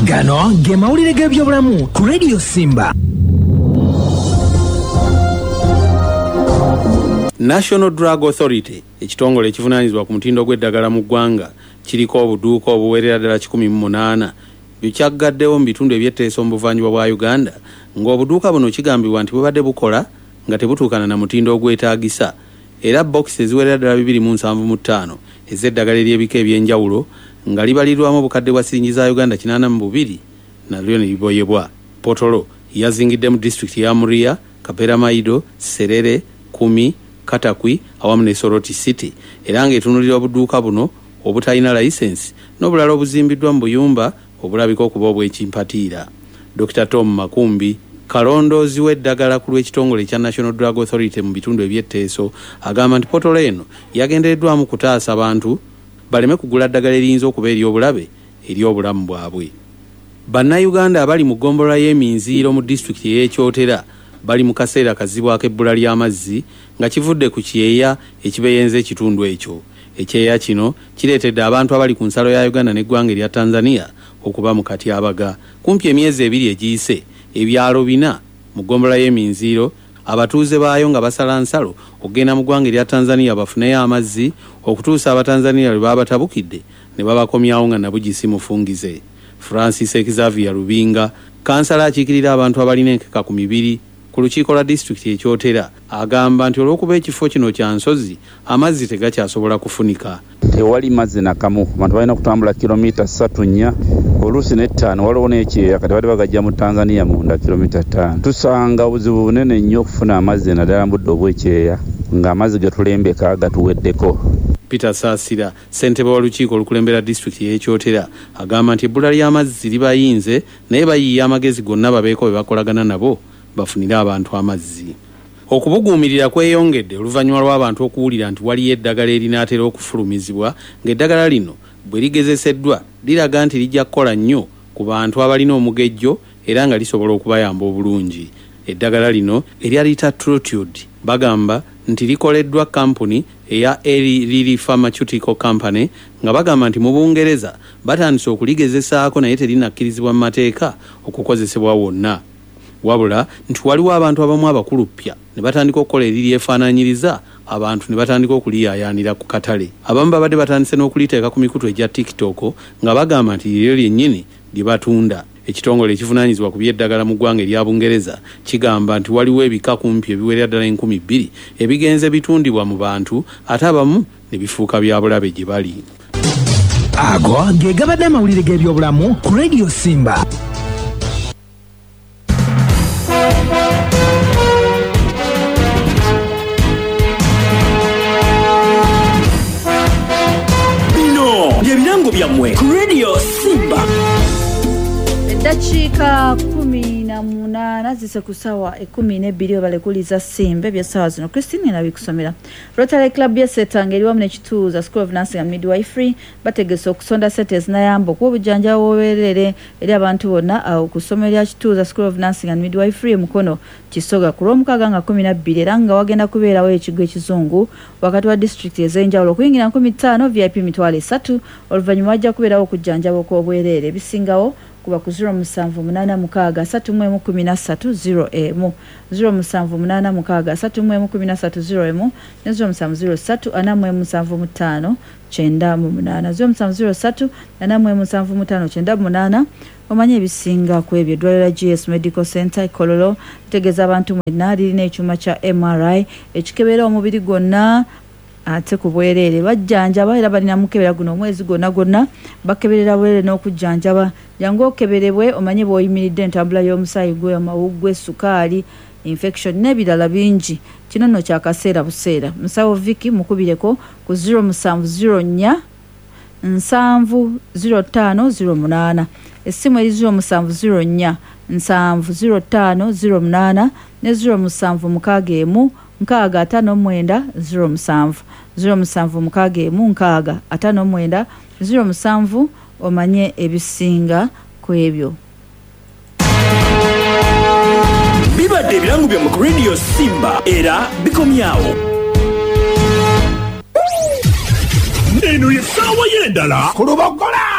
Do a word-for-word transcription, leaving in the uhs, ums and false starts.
Gano ge mawulire g'ebyobulamu ku Radio Simba. National Drug Authority, ekitongole ekivunaanyizibwa ku mutindo gw'eddagala mu ggwanga, kiriko obuduuka obuwerera ddala kikumi mu munaana bikyaggaddewo mu bitundu eby'etteeso mu buvanjuba bwa Uganda, ng'obuduuka buno kigambibwa nti bubadde bukola nga tebutuukana na mutindo ogwetaagisa, era bokisi eziwerera ddala bibiri mu nsanvu mu ttaano ez'eddagala ery'ebika eby'enjawulo nga libalirwamu obukadde bwa siringi za Uganda kinaana mu bubiri nalyo ne liboyebwa. Potolo yazingidde mu disitulikiti ya Muria, Kaperamaido, Serere, Kumi, Katakwi awamu ne Soroti City, era ng'etunuulira obuduuka buno obutalina layisensi n'obulala obuzimbiddwa mu buyumba obulabika okuba obw'ekimpatiira. Dokita Tom Makumbi, kalondoozi w'eddagala ku lw'ekitongole ekya National Drug Authority mu bitundu eby'etteeso, agamba nti potolo eno yagendereddwamu kutaasa bantu baleme kugula ddagala eriyinza okuba ery'obulabe eri obulamu bwabwe. Bannayuganda abali mu ggombolola y'eminziiro mu disitulikiti ey'Ekyotera bali mu kaseera kazibu ak'ebbula ly'amazzi nga kivudde ku kyeya ekibeyenza ekitundu ekyo. Ekyeya kino kireetedde abantu abali ku nsalo ya Uganda n'eggwanga erya Tanzania okuba mu katyabaga. Kumpi emyezi ebiri egiyise, ebyalo bina mu ggombolola y'eminziiro abatuuze baayo nga basala nsalo okugenda mu ggwanga erya Tanzania bafuneyo amazzi okutuusa Abatanzania lwe baabatabukidde ne babakomyawo nga nabugisi mufungize. Francis Xavier Lubinga, kansala akiikirira abantu abalina enkeka ku mibiri ku lukiiko lwa disitulikiti ekyotera, agamba nti olw'okuba ekifo kino kya nsozi, amazzi tegakyasobola kufunika. Tewali mazzi nakamu, abantu balina okutambula kilomita ssatu nnya oluusi n'ettaano, waliwo n'ekyeya kati bali bagajja mu Tanzania munda kilomita ttaano. Tusanga obuzibu bunene nnyo okufuna amazzi naddala mu budde obw'ekyeya ng'amazzi ge tulembeka gatuweddeko. Peter Saasira, ssentebe w'olukiiko olukulembera disitulikiti y'Ekyotera, agamba nti ebbula ly'amazzi libayinze naye bayiiya amagezi gonna babeeko be bakolagana nabo bafunire abantu amazzi. Okubuguumirira kweyongedde oluvannyuma lw'abantu okuwulira nti waliyo eddagala erinaatera okufulumizibwa, ng'eddagala lino bwe ligezeseddwa liraga nti lijja kukola nnyo ku bantu abalina omugejjo era nga lisobola okubayamba obulungi. Eddagala lino erya Retatrutide bagamba nti likoleddwa kampuni eya Eli Lilly Pharmaceutical Company, nga bagamba nti mu Bungereza batandise okuligezesaako naye terinakkirizibwa mu mateeka okukozesebwa wonna. Wabula nti waliwo abantu abamu abakuluppya ne batandika okukola eriryefaanaanyiriza abantu ne batandika okuliyaayaanira ku katale. Abamu babadde batandise n'okuliteeka ku mikutu egya TikTok nga bagamba nti liryo lyennyini lye batunda. Ekitongole ekivunaanyizibwa ku by'eddagala mu ggwanga erya Bungereza kigamba nti waliwo ebika kumpi ebiwerera ddala enkumi bbiri ebigenze bitundibwa mu bantu ate abamu ne bifuuka bya bulabe gye bali. Ago ge gabadde amawulire g'ebyobulamu ku Radio Simba. Bino bye birango byammwe ku Radio Simba. Eddakiika kumi na munaana zise ku ssaawa ekkumi n'ebbiri obalekuliza Simba eby'essaawa zino. Christine nabikusomera. Rotary Club ya Setanga eri wamu n'ekituuza School of Nursing and Midwifery bategese okusonda ssente ezinayamba okuwa obujjanjabi obwereere eri abantu bonna awo ku ssomero lya Kituuza School of Nursing and Midwifery e Mukono Kisoga ku Lwomukaaga nga kkumi na bbiri, era nga wagenda kubeerawo ekigwo ekizungu wakati wa disitulikiti ez'enjawulo okuyingira nkumi ttaano, V I P mitwalo esatu. Oluvannyuma wajja kubeerawo okujjanjaba okw'obwereere. Ebisingawo kuba ku zero musanvu munaana mukaaga asatu mu emu kumi na ssatu zero emu, zero musanvu munaana mukaaga asatu mu emu kumi na ssatu zero emu ne zero musanvu zero ssatu ana mu emu musanvu mu ttaano kyenda mu munaana, zero musanvu zero ssatu ana mu emu musanvu mu ttaano kyenda mu munaana. Omanye ebisinga ku ebyo. Eddwaliro lya G S Medical Center e Kololo litegeeza abantu mwenna lirina ekyuma kya M R I ekikebera omubiri gwonna ate ku bwereere. Bajjanjaba era balina mukebera guno omwezi gwonna gwonna, bakeberera bwereere n'okujjanjaba. Jangu okeberebwe omanye bw'oyimiridde entambula y'omusaayi gwe, amawuggwe, sukaali, infection n'ebirala bingi. Kino nno kya kaseera buseera. Musawo Vicky mukubireko ku zero musanvu zero nnya nsanvu zero ttaano zero munaana. Essimu eri zero musanvu zero nnya nsanvu zero ttaano zero munaana ne zero musanvu mukaaga emu nkaaga ataano mwenda zero musanvu, zero musanvu mukaaga emu nkaaga ataano mwenda zero musanvu. Omanye ebisinga ku ebyo. Bibadde ebirango byammwe ku Radio Simba era bikomyawo. Eno ye ssaawa y'endala ku Lubogola.